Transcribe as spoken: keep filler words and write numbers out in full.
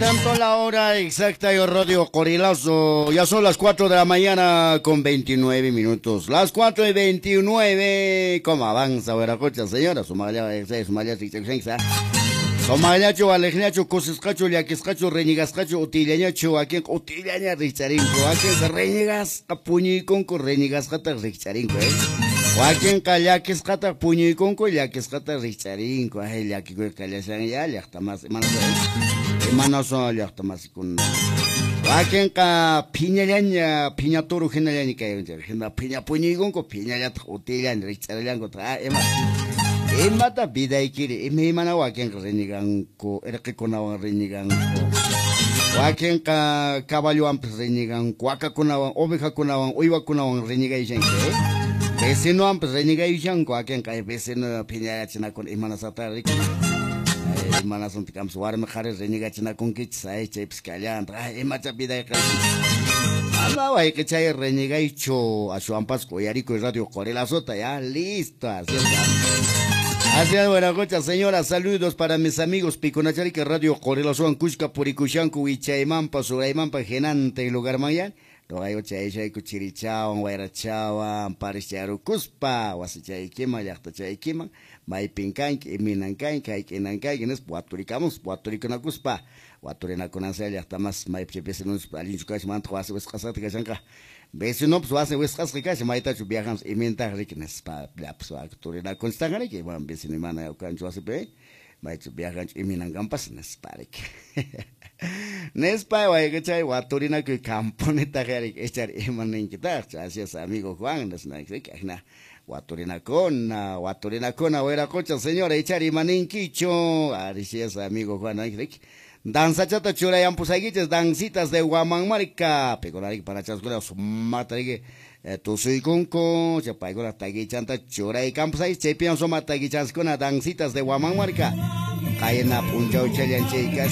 Tanto la hora exacta y Radio Qorilazo. Ya son las cuatro de la mañana con veintinueve minutos. Las cuatro y veintinueve. ¿Cómo avanza, Veracocha, señora? Sumaya, sumaya, Somayacho, alejñacho, kusisqacho, llakisqacho, reñigasqacho, utillañacho, wakinqa utillaña rikcharinku, wakinqa reñigasqa puñuykunku, reñigasqataq rikcharinku, eh? Wakinqa llakisqataq puñuykunku, llakisqataq rikcharinku, ay llakikuy kallashan ya llaqta masi, imanaso llaqta masikuna. Wakinqa phiñallaña, phiña turu hinallaña kayunchik, hina phiña puñuykunku, phiñallataq utillaña rikcharallanku, ah, ima. Imata vidaykiri, imaymana wakinqa reñiganku, irqikunawan reñiganku. Wakinqa caballowanpis reñiganku, wakakunawan, ovejakunawan, uywakunawan reñigayshanku, eh? Vecinowanpis reñigayshanku, wakinqa vecino phiñayachinakun imanasata riki. Imanasunta kampas warmi qhari reñigachinakunkichis, ay chaypis kallanta, ay imacha vidayqa. Ama wayqichay reñigaychu, ashwanpas uyarikuy Radio Qorilazota, ya listo, así está. Así es, buena señora, saludos para mis amigos Piconacharika Radio Qorilazowan kushka purikushanku wichaymampa suraymampa hinante lugar mayan. Rogayo chayshayku chirichawan wayrachawan parischarukuspa wasichaykiman llaqtachaykiman maypin kanki iminan kanki hayk'inan kanki nispa waturikamus waturikunakuspa waturinakunansa llaqtamas maypi vecinos allinchu kashan mantaq wasi wisq'asqata kashanqa vecinopas wasi wisq'asqa kashan maytachu viajamos imintaq riki nispa llapas waturinakunchiktaqa riki bueno vecino mana kanchu wasipi maychu viajanchu iminankampas nispa riki nispa wayqichay waturinakuy camponitaq riki ichari imaninkitaqchu. Así es, amigo Juan, nisnayki ajna waturinakuna waturinakuna wiraqocha señora ichari imaninkichu. Así es, amigo Juan, riki danzachata churayampusaykichis dancitas de Huamanmarca pikunariki parachaskuna sumaqta riki tusuykunku chay paykuna takichanta churaykampusaykichis chaypiwan sumaq takichanskuna dancitas de Huamanmarca qayna p'unchawchallan chay kashan.